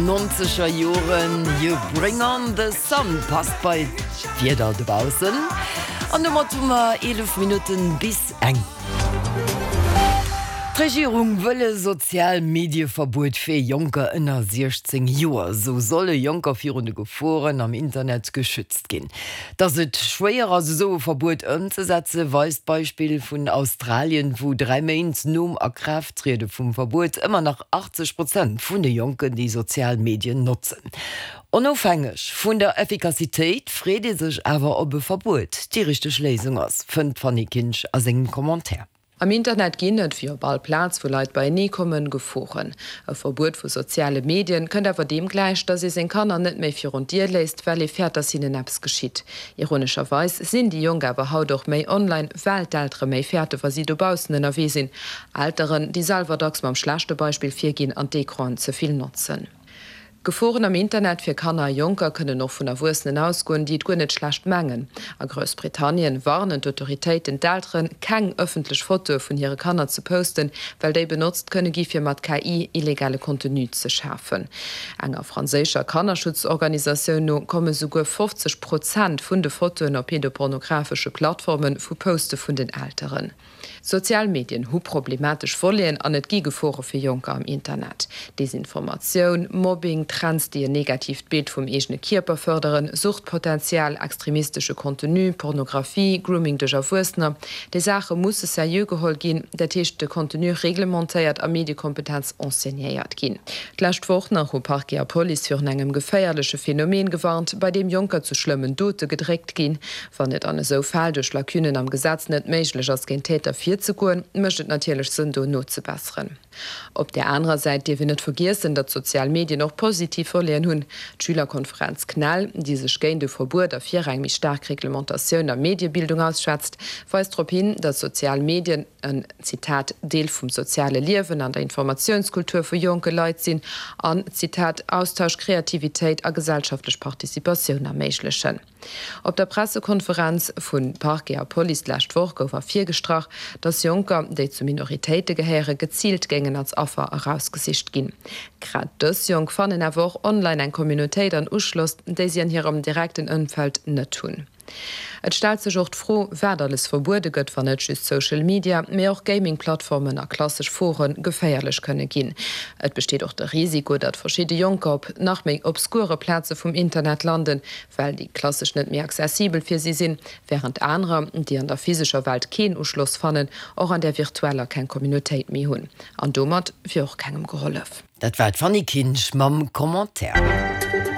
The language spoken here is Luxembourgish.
Nonzeger Joren, You Bring On The Sun passt bei d'Wieder dobaussen. An domat hu mer 11 Minutten bis eng. D'Regierung wëll e Sozial-Medie-Verbuet fir Jonker ënner 16 Joer. Esou solle Jonker virun de Geforen am Internet geschützt ginn. Datt et schwéier ass esou e Verbuet ëmzesetze weist d'Beispill vun Australien, wou 3 Méint nom Akraafttriede vum Verbuet ëmmer nach 80 Prozent vun de Jonken déi sozial Medien notzen. Onofhängeg vun der Effikassitéit freet ee sech awer ob e Verbuet déi richteg Léisung ass, fënnt d'Fanny Kinsch a sengem Commentaire. Am Internet ginn et, wéi op all Plaz wou Leit beienee kommen, Geforen. E Verbuet vu soziale Medien kënnt awer deem gläich, datt ee seng Kanner net méi virun d'Dier léisst, well ee fäert, datt hinnen eppes geschitt. Ironescherweis sinn déi Jonk awer haut och méi online, well d'Eltere méi fäerte wa si dobaussen ënnerwee sinn. Elteren, déi selwer dacks mam schlechte Beispill virginn an d'Ecranen ze vill notzen. Geforen am Internet fir Kanner a Jonker kënnen och vun Erwuessenen ausgoen, déi et guer net schlecht mengen. A Groussbritannien warnen d'Autoritéiten d'Elteren, keng ëffentlech Fotoe vun hire Kanner ze posten, well déi benotzt kënne gi fir mat KI illegale Contenu ze schafen. Enger franséischer Kannerschutzorganisatioun no komme souguer 50 Prozent vun de Fotoen op pedopornografesche Plattforme vu Poste vun den Elteren. Sozial Medien hu problematesch Voleten an et gi Gefore fir Jonker am Internet. Desinformatioun, Mobbing, Trends, déi en negatiivt Bild vum eegene Kierper fërderen, Suchtpotenzial, extremistesche Contenu, Pornografie, Grooming duerch Erwuessener, déi Saache musse seriö geholl ginn, dat heescht de Contenu reglementéiert a Mediekompetenz enseignéiert ginn. D'lescht Woch nach hu Parquet a Police virun engem geféierleche Phenomen gewarnt, bei deem Jonker zu schlëmmen Dote gedréckt ginn. Wann et an esou Fäll duerch Lacunen am Gesetz net méiglech ass, géint Täter virzegoen, mécht et natierlech Sënn, do nozebesseren. Op där anerer Säit dierf een net vergiessen, datt d'sozial Medien och positiv Voleten hunn. D'Schülerkonferenz CNEL, déi sech géint e Verbuet a fir eng méi staark Reglementatioun a Mediebildung ausschwätzt, weist drop hin, datt sozial Medien en, Zitat, Deel vum soziale Liewen an der Informatiounskultur vu jonke Leit sinn an, Zitat, Austausch, Kreativitéit a gesellschaftlech Participatioun erméiglechen. Op der Pressekonferenz vu Parquet a Police d'lescht Woch gouf ervirgestrach, datt Jonker, déi zu Minoritéite gehéieren, geziilt géingen als Affer erausgesicht ginn. Grad dës Jonk fannen awer och online eng Communautéit an Uschloss, déi si an hirem direkten Ëmfeld net hunn. Et stellt sech och d'Fro, wat alles verbuede gëtt, wann net just Social Media, mee och Gaming-Plattformen a klassesch Fore geféierlech kënne ginn. Et besteet och de Risiko, datt verschidde Jonker op nach méi obskure Plaze vum Internet landen, well déi klassesch net méi accessibel fir si sinn, wärend anerer, déi an der physescher Welt keen Uschloss fannen, och an där virtueller keng Communautéit méi hunn. An domat wier och kengem gehollef. Dat war d'Fanny Kinsch mam Commentaire.